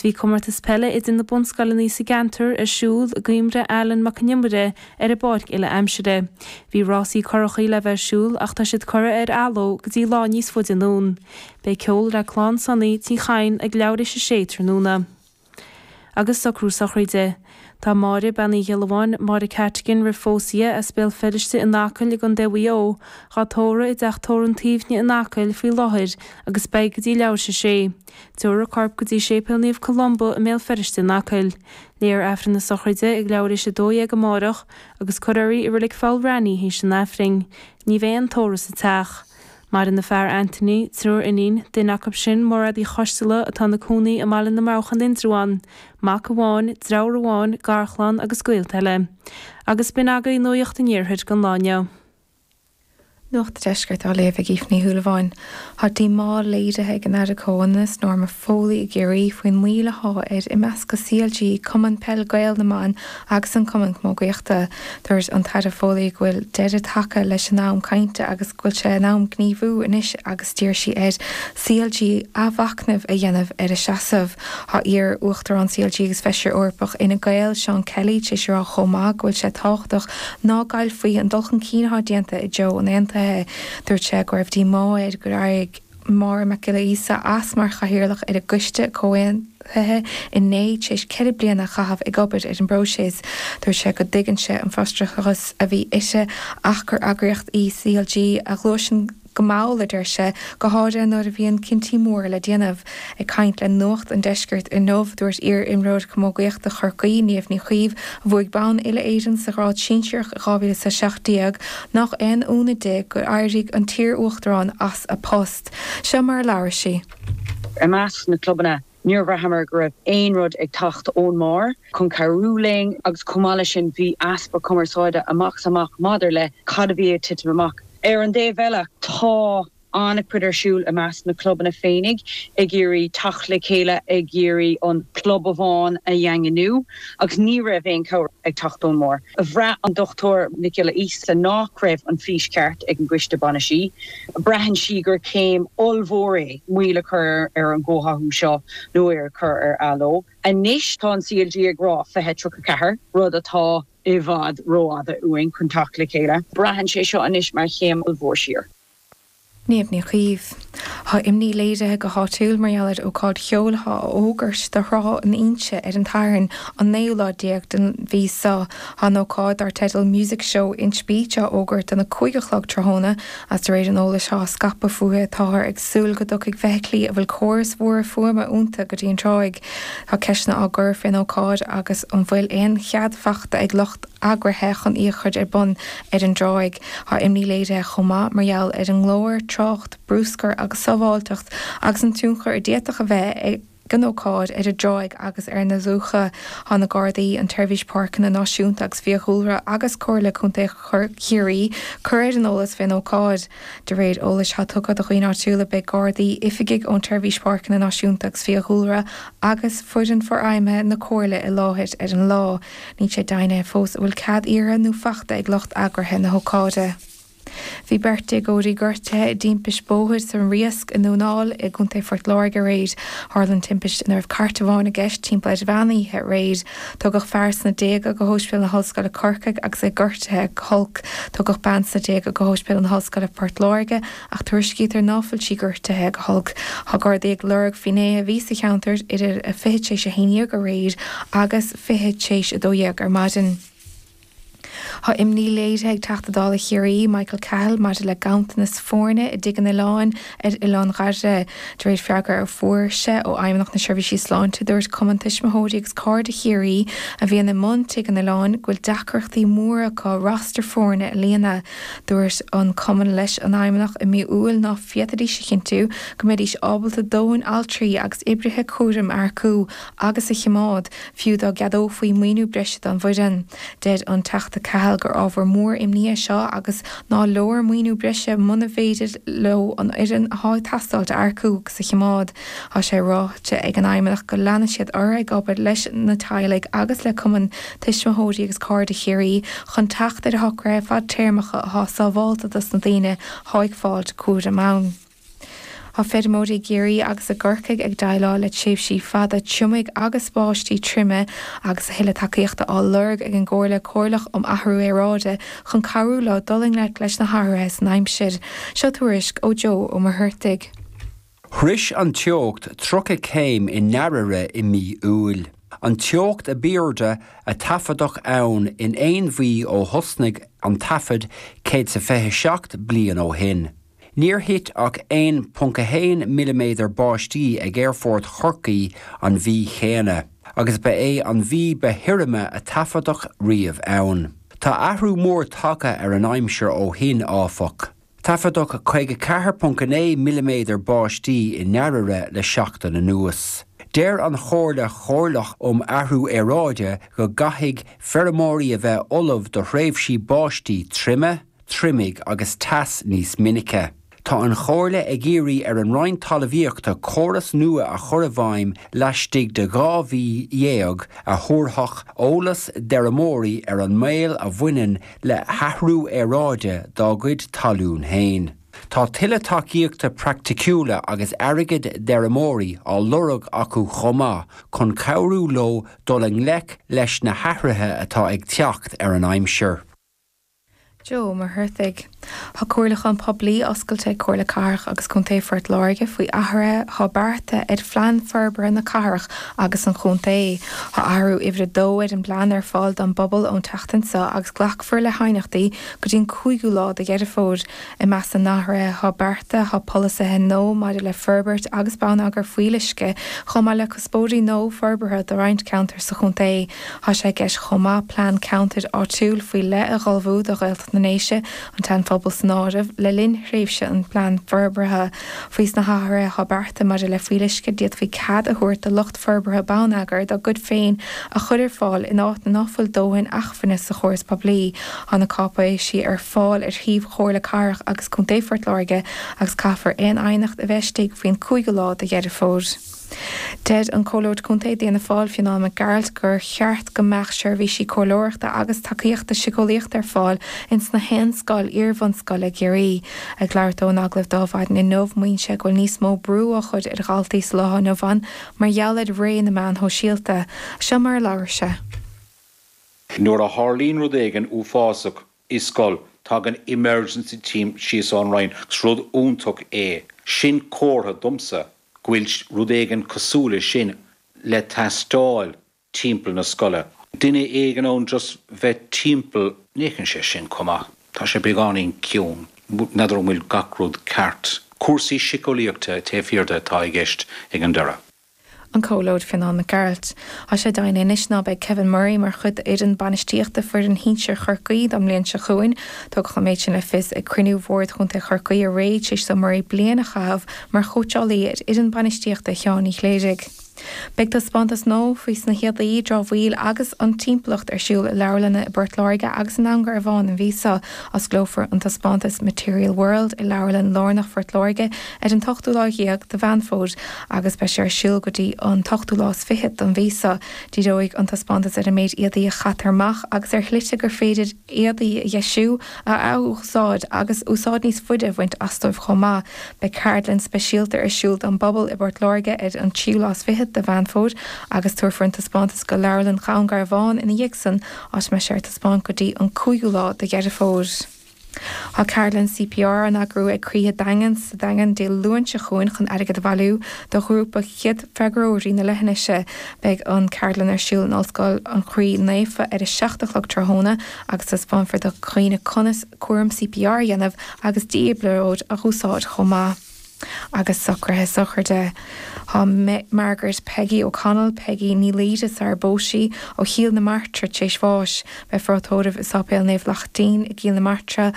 Bhí comórtas peile idir na bunscoileanna sa gceantar ar siúl i gcuimhne Alan Mac Con Iomaire ar an bpáirc uile aimsire. Bhí rásaí currachaí le bheith ar siúl ach tá siad curtha ar athló go dtí lá níos faide anonn. Beidh ceol le Clann Sonaí Tí Chadhain ag leathuair théis a sé tráthnóna. Agus socrú sochraide. Tá Máire, Bean Uí Ghiollamháin, Máire Cattigan roimh phósadh di, as Béal Feirste in Acaill i gContae Mhaigh Eo, dhá tórramh i dTeach Tórraimh an tSuibhne in Acaill faoi láthair agus beidh go dtí leathuair théis a sé. Tabharfar a corp go dtí Séipéal Naomh Columba i mBéal Feirste in Acaill. Léifear Aifreann na sochraide ag leathuair théis 12 amárach agus cuirfear í i Reilig Pholl Raithní théis an Aifrinn. Ní bheidh aon tórramh sa teach. Maireann a fear Anthony, triúr iníon, duine acu sin Mairéad Uí Choisteala atá ina cónaí i mBaile na mBroghach in Indreabhán, mac amháin, deartháir amháin, garchlann agus gaolta eile. Agus b'in agaibh Nuacht an Iarthair don lá inniu. Nuacht an Deiscirt á léamh ag Aoife Ní Shúilleabháin. Tá díomá léirithe ag an Aire Comhionannais, Norma Foley i gCiarraí faoin moill athá ar imeascadh CLG, Cumann Peil Gael na mBan agus an Cumann Camógaíochta. Dúirt an tAire Foley go bhfuil deireadh tagtha leis an am cainte agus go bhfuil sé in am gníomhú anois agus d'iarr sí ar CLG athmhachnamh a dhéanamh ar a seasamh. Tá iar-Uachtarán CLG agus Feisire Eorpach Fhine Gael, Seán Kelly, tar éis a rá chomh maith go bhfuil sé tábhachtach ná gcaillfí an dul chun cinn atá déanta i dtreo an aontaithe. Dúirt sé go raibh díomá air gur éirigh Máire Mac Giolla Íosa as mar chathaoirleach ar an gcoiste comhaontaithe inné tar éis 4 bliana a chaitheamh ag obair ar an bpróiseas. Dúirt sé go dtuigeann sé an frustrachas a bhí uirthi ach gur eagraíocht í CLG a ghluaiseann go mall, a deir sé, go háirithe nuair a bhíonn cinntí móra le déanamh. Ag caint le Nuacht an Deiscirt inniu, dúirt iar-imreoir camógaíochta Chorcaí, Niamh Ní Chaoimh, a bhuaigh bonn uile-Éireann sa ghrád sinsearach i 2017, nach aon ionadh di gur éirigh an t-iar-uachtarán as a post. Seo mar a labhair sí. I measc na clubanna, níor bhraitheamar go raibh aon rud ag teacht ón mbarr chun cabhrú linn agus chomh maith leis sin bhí easpa cumarsáide amach is amach maidir le cad a bhí ag titim amach. Ar an dtaobh eile, tá an-chuid ar siúl i measc na clubanna féinig ag iarraidh teacht le chéile, ag iarraidh an club amháin a dhaingniú agus ní raibh aon chabhair ag teacht ón mbarr. Bhraith an Dr Nic Giolla Íosa nach raibh an fís ceart ag an gcoiste bainistí. Braitheann sí gur céim ollmhór é moill a chur ar an gcomhtháthú seo nó é a chur ar athló. Anois tá an CLG ag rá 2034, rud atá i bhfad rófhada uainn chun teacht le chéile. Braitheann sé seo anois mar chéim ollmhór siar. Niamh Ní Chaoimh. Tá imní léirithe go háitiúil mar gheall ar ócáid cheoil atá á fhógairt do Thrá na Inse ar an tSatharn, an naoú lá déag den mhí seo. Tá an ócáid, dar teideal Music Show Inch Beach, á fhógairt don 5 a chlog tráthnóna agus de réir an eolais atá á scaipeadh fúithi, táthar ag súil go dtiocfaidh feithiclí a bhfuil córais mhóra fuaime iontu go dtí an tráigh. Tá ceisteanna á gcur fén ócáid agus an bhfuil aon chead fachta ag lucht eagraithe chun í a chur ar bun ar an dtráigh. Tá imní léirithe chomh maith mar gheall ar an nglór, trácht, bruscar agus sábháilteacht agus an tionchar a d'fhéadfadh a bheith ag an ócáid ar an dtráigh agus ar na dumhcha. Tá na Gardaí, an tSeirbhís Páirceanna Náisiúnta agus Fiadhúlra agus Comhairle Contae Chiarraí curtha ar an eolas fén ócáid. De réir eolais atá tugtha do dhaoine áitiúla beidh Gardaí, oifigigh ón tSeirbhís Páirceanna Náisiúnta agus Fiadhúlra agus foireann forfheidhmithe na Comhairle i láthair ar an lá. Níl sé deimhnithe fós an bhfuil cead iarrtha nó fachta ag lucht eagraithe na hócáide. Bhí beirt déagóirí gortaithe i dtimpist bóthair sa Riasc i nDún Áill i gContae Phort Láirge aréir. Tharla an timpist ina raibh cairt amháin i gceist timpeall ar mheán oíche aréir. Tugadh fear sna déaga go hOspidéal na hOllscoile Corcaigh agus é gortaithe go holc. Tugadh bean sna déaga go hOspidéal na hOllscoile Port Láirge Ach tuairiscítear ná fuil sí gortaithe go holc. Tá Gardaí ag lorg finnéithe a bhí sa cheantar idir a 11:20 aréir agus 12:40 ar maidin. Tá imní léirithe ag Teachta Dála Chiarraí, Michael Cahill, maidir le ganntanas foirne i dTigh an Oileáin ar Oileán Dhoire. De réir freagra a fuair sé ó Fheidhmeannacht na Seirbhísí Sláinte, dúirt Cumann Tuismitheoirí agus Cairde Chiarraí a bhíonn i mbun Tigh an Oileáin go bhfuil deacrachtaí móra acu roster foirne a líonadh. Dúirt an cumann leis an Fheidhmeannach i mí Iúil ná féadfaidís a chinntiú go mbeidís ábalta dóthain altraí agus oibrithe cúraim a earcú agus a choimeád, fiú dá gceadófaí maoiniú breise don bhfoireann. Deir an Teachta Cahill gur ábhar mór imní é seo agus ná leor maoiniú breise muna bhféidir leo an fhoireann atá ag teastáilt a earcú agus a choimeád. Tá sé ráite ag an Fheidhmeannach go leanfaidh siad orthu ag obair leis na teaghlaigh agus le Cumann Tuismitheoirí agus Cairde Chiarraí chun teacht ar shocruithe fadtéarmacha atá sábhálta dos na daoine atá ag fáilt cúraim ann. Tá feirmeoirí i gCiarraí agus i gCorcaigh ag déileáil le tréimhsí fada triomaigh agus báistí troime agus a thuilleadh tacaíochta á lorg ag an gComhairle Chomhairleach um Athrú Aeráide chun cabhrú leo dul i ngleic leis na hathruithe san aimsir. Seo tuairisc ó Joe Ó Muircheartaigh. Shrois an teocht 30 céim i nDairire i mí Iúil, an teocht a b'airde a taifeadadh ann in aon mhí ó thosnaigh an taifead 127 bliain ó shin. Níor thit ach 1.1 milliméadar báistí ag Aerfort Chorcaí an mhí chéanna, agus ba é an mhí ba thirime a taifeadadh riamh ann. Tá athrú mór tagtha ar an aimsir ó shin, áfach. Taifeadadh 54.9 milliméadar báistí i nDairire le seachtain anuas. Deir an Chomhairle Chomhairleach um Athrú Aeráide go gcaithfidh feirmeoirí a bheith ullamh do thréimhsí báistí troime, triomaigh agus teas níos minice. Tá an Chomhairle ag iarraidh ar an Roinn Talmhaíochta córas nua a chur i bhfeidhm laistigh de 12 mhí a thabharfadh eolas d'fheirmeoirí ar an mbaol a bhaineann le hathrú aeráide dá gcuid talún féin. Tá tuilleadh tacaíochta praiticiúla agus airgid d'fheirmeoirí á lorg acu chomh maith chun cabhrú leo dul i ngleic leis na hathruithe atá ag teacht ar an aimsir. Joe Ó Muircheartaigh. Tá comhairliúchán poiblí oscailte ag Comhairle Cathrach agus Contae Phort Láirge faoi athruithe atá beartaithe ar Phlean Forbartha na Cathrach agus an Chontae. Tá athrú uimhir a dó ar an bplean ar fáil don bpobal ón tseachtain seo agus glacfar le haighneachtaí go dtí an cúigiú lá de Dheireadh Fómhair. I measc na n-athruithe atá beartaithe tá polasaithe nua maidir le forbairt agus bonneagar fuíolluisce chomh maith le cuspóirí nua forbartha do roinnt ceantar sa chontae. Tá sé i gceist chomh maith plean ceantair áitiúil faoi leith a dh'ullmhú do Ghaeltacht na nDéise, an tSean-Phobal san áireamh, le linn thréimhse an phlean forbartha. Faoi sna hathruithe atá beartaithe maidir le fuíolluisce, d'fhéadfaí cead a thabhairt do lucht forbartha bonneagar dá gcuid féin a chur ar fáil in áiteanna ná fuil dóthain acmhainne sa chóras poiblí. Tá na cáipéisí ar fáil ar shuíomh Chomhairle Cathrach agus Contae Phort Láirge agus caithfear aon aighneacht a bheith istigh faoin 5ú lá de Dheireadh Fómhair. Deir an Comhairleoir Contae d'Fhianna Fáil, Fionán Mac Gearailt, gur cheart go mbeadh seirbhísí comhairleoireachta agus tacaíochta siceolaíochta ar fáil ins na haon scoil iar-bhunscoile i gCiarraí. Ag labhairt dó in agallamh d'Adhmhaidin inniu, maíonn sé go bhfuil níos mó brú á chur ar dhaltaí sa lá inniu ann mar gheall ar ré na meán shóisialta. Seo mar a labhair sé. Nuair a tharlaíonn rud éigin uafásach i scoil, tagann emergency team síos ón Roinn agus rud iontach é. Sin comhartha domsa go bhfuil rud éigin cosúil le sin le teastáil timpeall na scoile. Duine éigin ann just bheith timpeall. Ní fhéachann sé sin chomh maith. Tá sé beagáinín ciúin. N'fheadar an bhfuil gach rud ceart. Cúrsaí síceolaíochta taobh thiar de atá i gceist ag an deireadh. An Comhairleoir Fionán Mac Gearailt. Tá sé deimhnithe anois ná beidh Kevin Murray mar chuid d'fhoireann bainistíochta foireann shinsir Chorcaí don mbliain seo chugainn. Tugadh an méid sin le fios ag cruinniú Bhord Chontae Chorcaí aréir tar éis do Murray bliain a chaitheamh mar chóitseálaí ar fhoireann bainistíochta Sheáin Uí Chléirigh. Beidh taispeántas nua faoi sna héadaí, dramhaíl agus an timpeallacht ar siúl i leabharlanna i bPort Láirge agus i nDún Garbhán an mhí seo. Osclófar an taispeántas Material World i Leabharlann Lárnach Phort Láirge ar an t-ochtú lá dhéag de Mheán Fómhair agus beidh sé ar siúl go dtí an t-ochtú lá is fichead den mhí seo. Díreoidh an taispeántas ar an méid éadaí a chaitear amach agus ar shlite gur féidir éadaí a dheisiú, a athúsáid agus úsáid níos faide a bhaint astóibh chomh maith. Beidh ceardlann speisialta ar siúl don bpobal i bPort Láirge ar an tríú lá is fichead de Mheán Fómhair agus tabharfar an taispeántas go Leabharlann Dhún Garbhán ina dhiaidh san, áit a mbeidh sé ar taispeáint go dtí an cúigiú lá de Dheireadh Fómhair. Tá ceardlann CPR á n-eagrú ag Croíthe Daingean sa Daingean Dé Luain seo chugainn chun airgead a bhailiú do ghrúpa chéad-fhreagróirí na leithinise. Beidh an ceardlann ar siúl in Ollscoil an Chroí Naofa ar a 7 a chlog tráthnóna agus taispeánfar do dhaoine conas cúram CPR a dhéanamh agus dífhibrileoir a úsáid chomh maith. Agus socruithe sochraide. Tá Margaret Peggy O'Connell, Peggy Ní Laoire sar ar phós sí, ó Chill na Martra tar éis bháis. Beifear á tórramh i Sáipéal Naomh Lachtaín i gCill na Martra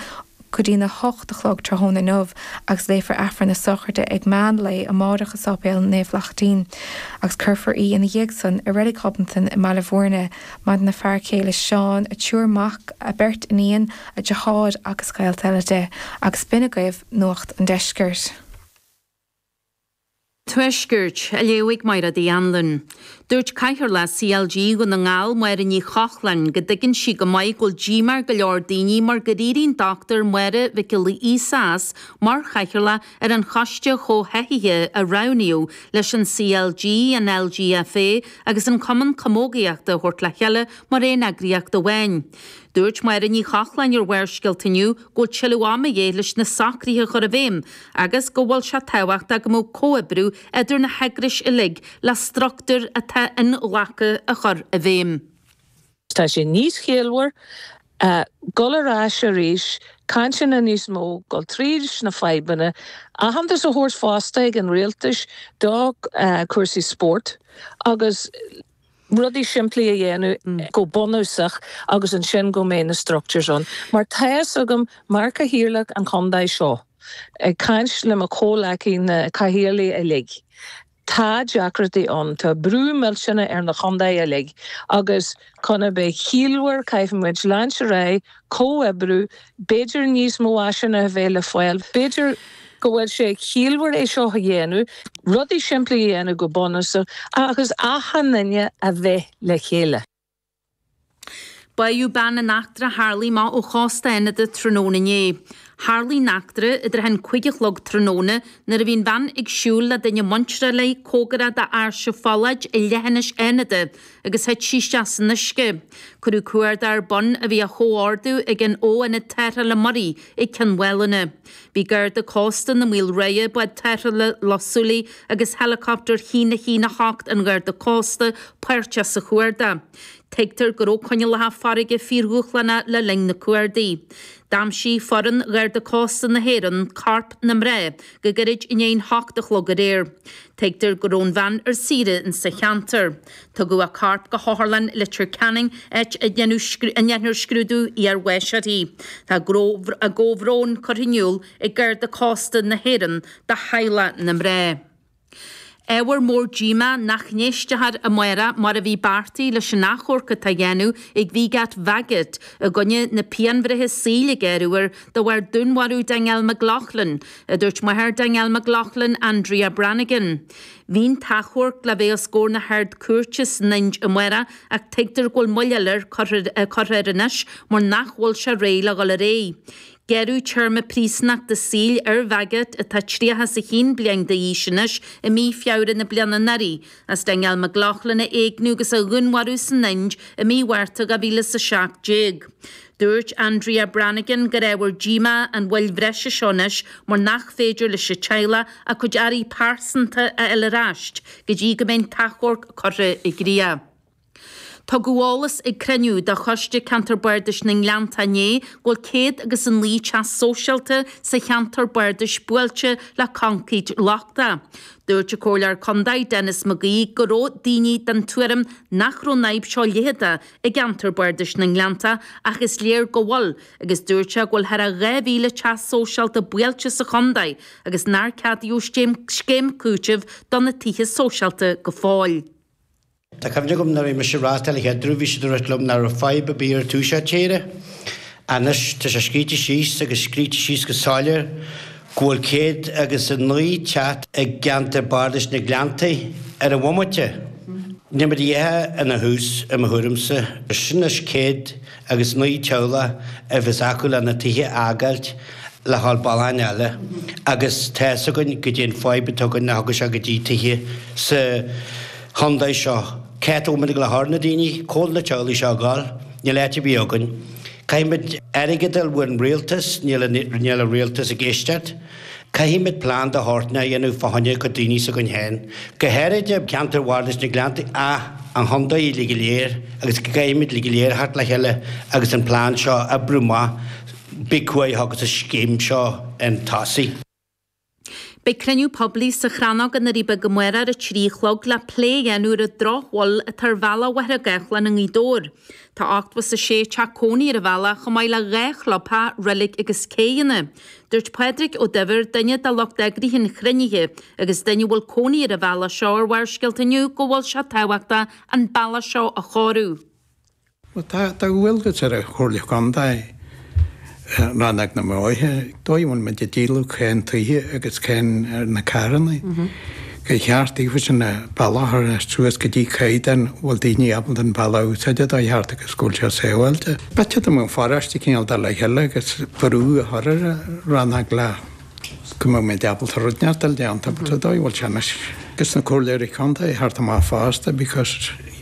go dtí'n 8 a chlog tráthnóna inniu agus léifear Aifreann na sochraide ag meán lae amárach i Sáipéal Naomh Lachtaín agus cuirfear í ina dhiaidh san i Reilig Ghobnatan i mBaile Bhúirne. Maireann a fear céile Seán, a triúr mac, a beirt iníon, a deartháir agus gaolta eile di. Agus b'in agaibh Nuacht an Deiscirt. Tuaiscirt, á léamh ag Máire Uí Anluain. Dúirt Cathaoirleach CLG Dhún na nGall, Máire Ní Chochláin, go dtuigeann sí go maith go bhfuil díomá ar go leor daoine mar gur éirigh an Dr Máire Mhic Giolla Íosa as mar chathaoirleach ar an choiste chomhtháthaithe a roghnaíodh leis an CLG, an LGFA agus an Cumann Camógaíochta a thabhairt le chéile mar aon eagraíocht amháin. Dúirt Máire Ní Chochláin ar Bharrscéalta inniu go bhfuil tuilleadh ama de dhíth leis na socruithe a chur i bhfeidhm agus go bhfuil sé tábhachtach go mbeadh comhoibriú idir na heagrais uilig le struchtúr atá inghlactha a chur i bhfeidhm. Tá sé níos ciallmhar dul ar ais arís, cainteanna níos mó, dul tríd na fadhbanna, aitheantas a thabhairt fosta ag an rialtais do cúrsaí spóirt agus rudaí simplí a dhéanamh go bunúsach agus ansin go mbeidh na structures ann. Mar tá fhios agam, mar Cathaoirleach an chontae seo, ag caint le mo chomhleacaí na cathaoirligh uilig, tá deacrachtaí ann, tá brú millteanach ar na chontae uilig agus chun a bheith ciallmhar caithfidh muid leanúint ar aghaidh, comhoibriú, b'fhéidir níos mó áiseanna a bheith le fáil, b'fhéidir go bhfuil sé ciallmhar é seo a dhéanamh, rudaí simplí a dhéanamh go bunúsach agus achan duine a bheith le chéile. Báitheadh bean in eachtra a tharlaigh amach ó chósta Fhánada tráthnóna inné. Tharlaigh an eachtra i dtrátha an 5 a chlog tráthnóna nuair a bhí an bhean ag siúl le duine muinteartha léi cóngarach d'Áirse Pholláid i leithinis Fhánada agus thit sí isteach san uisce. Cuireadh cuardach ar bun a bhí á chomhordú ag an Fho-Ionad Tarrthála Muirí ag Cionn Mhálanna. Bhí Garda Cósta na Maoilrátha, Bád Tarrthála Loch Súilí agus Helicopter 1 1 8 an Gharda Cósta páirteach sa chuardach. Tuigtear go raibh coinníollacha farraige fíordhúshlánach le linn na cuardaigh. D'aimsigh foireann Gharda Cósta na hÉireann corp na mná go gairid i ndiaidh an hocht a chlog aréir. Tuigtear go raibh an bhean ar saoire insa cheantar. Tugadh a corp go hOtharlann Leitir Ceanainn áit a ndéanfar scrúdú iarbháis uirthi. Tá a gcomhbhrón curtha in iúl ag Garda Cósta na hÉireann do theaghlach na mná. Ábhar mór díomá nach n-éistfear amárach mar a bhí beartaithe leis an achomharc atá á dhéanamh ag Wiegert Waggett i gcoinne na pianbhreithe saoil a gearradh air de bharr dúnmharú Danielle McLaughlin, a dúirt máthair Danielle McLaughlin, Andrea Brannigan. Bhí an t-achomharc le bheith os comhair na hArd-Chúirte san Ind amárach ach tuigtear go bhfuil moill eile curtha air anois mar nach bhfuil sé réidh le dhul ar aghaidh. Gearradh téarma príosúnachta saoil ar Waggett, atá 31 bliain d'aois anois, i mí Feabhra na bliana anuraidh, as Danielle McLaughlin a éigniú agus a dhúnmharú san Ind i mí Mhárta 2017. Dúirt Andrea Brannigan gur ábhar díomá an mhoill bhreise seo anois mar nach féidir leis an teaghlach a cuid earraí pearsanta a fháil ar ais go dtí go mbeidh an t-achomharc curtha i gcrích. Tugadh eolas ag cruinniú de Choiste Ceantar Bardais na nGleanntach inné go bhfuil 109 teach sóisialta sa cheantar bardais buailte le coincréit lochtach. Dúirt an Comhairleoir Contae Denis McGee go raibh daoine den tuairim nach raibh an fhadhb seo leitheadach i gceantar bardais na nGleanntach ach is léir go bhfuil agus dúirt sé go bhfuil thar a 2,000 teach sóisialta buailte sa chontae agus nár ceadaíodh scéim cúitimh do na tithe sóisialta go fóill. Tá cuimhne agam nuair a bhí mise ag reáchtáil an chéad uair bhí siad ag rá liom nach raibh fadhb ar bith ar tús tíre. Anois tá sé scríte síos agus scríte síos go soiléir go bhfuil 109 teach i gceantar bardais na Gleanntaí ar an bhomaite. Níl muid a dhath ina thús i mo thuairimse. Sin anois 109 teaghlach a bheas acu lena tithe a fhágáilt le dhul bealach eile agus tá fhios againn goidé an fadhb atá againn nach dtiocfaidh sé go dtí tithe sa chontae seo. Cá bhfuil muid ag dul a chur na daoine? Cá bhfuil na teaghlaigh seo ag dul? Níl áit ar bith againn. Caithfimid airgead a fháil ón rialtas, níl níl an rialtas ag éisteacht. Caithfimid plean de shórt a dhéanamh fá choinne cuid daoine s'againn féin, go háirid i gceantar Bhardais na Gleanntaí ach an chontae uilig go léir agus go gcaithfimid uilig go léir a theacht le chéile agus an plean seo a oibriú amach. Beidh cumhaidh agus an scéim seo chun tosaigh. Beidh cruinniú poiblí sa Chrannóg i nDoirí Beaga amárach ar a 3 a chlog le plé a dhéanamh ar an drochbhail atá ar bhealach Mhachaire Gathlán i nGaoth Dobhair. Tá 86 teach cónaí ar an bhealach chomh maith le 2 chlubtheach, reilig agus céidheanna. Dúirt Pádraig Ó Duibhir, duine de lucht eagraithe an chruinnithe agus duine a bhfuil cónaí ar an bhealach seo ar Bharrscéalta inniu go bhfuil sé tábhachtach an bealach seo a chóiriú. Bhuel, tá dualgas ar an Chomhairle Contae, Rannóg na mBóithre, dóigh a bhfuil muid ag díol cén tithe agus cén ar na carranna. Gur cheart daofa sin an bealach a chur suas go dtí caighdeán a bhfuil daoine ábalta an bealach a úsáid dá cheart agus go bhfuil sé sábháilte. B'fhéidir dá mbeadh an pharóiste cineál dul le chéile agus brú a chur ar an rannóg le go mbeadh muid ábalta rud inteacht a dhéanamh but sa dóigh a bhfuil sé anois agus na comhairleoirí contae thart amach fosta because.